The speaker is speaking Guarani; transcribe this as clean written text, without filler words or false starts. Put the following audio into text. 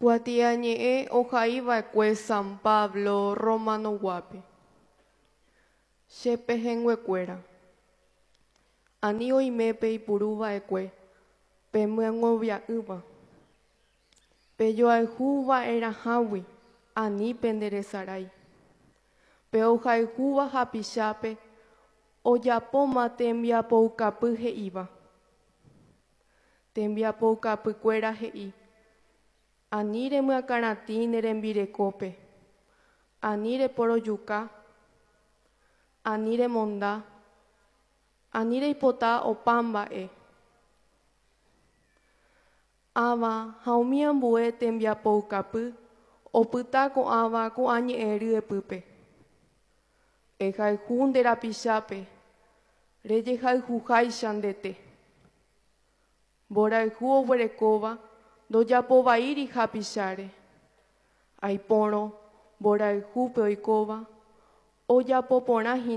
Kuatiañe'ẽ ohaiva'ekue San Pablo Romanoguápe. Che pehẽnguekuéra, ani oime peipuruva'ekue pemyengovia'ỹva. Pejoayhuva'erãhágui ani penderesarái. Pe ohayhúva hapichápe ojapóma tembiapoukapy he'íva. Tembiapoukapykuéra he'i: Ani remyakãratĩ ne rembirekópe, ani reporojuka, ani remonda, ani reipota opa mba'e. Ãva ha umi ambue tembiapoukapy opyta ko'ãva ko'ã ñe'ẽ ryepýpe. Ehayhu nde rapichápe rejehayhuháicha ndete. Mborayhu oguerekóva ndojapovaíri hapicháre. Aipórõ mborayhúpe oikóva ojapoporãhína.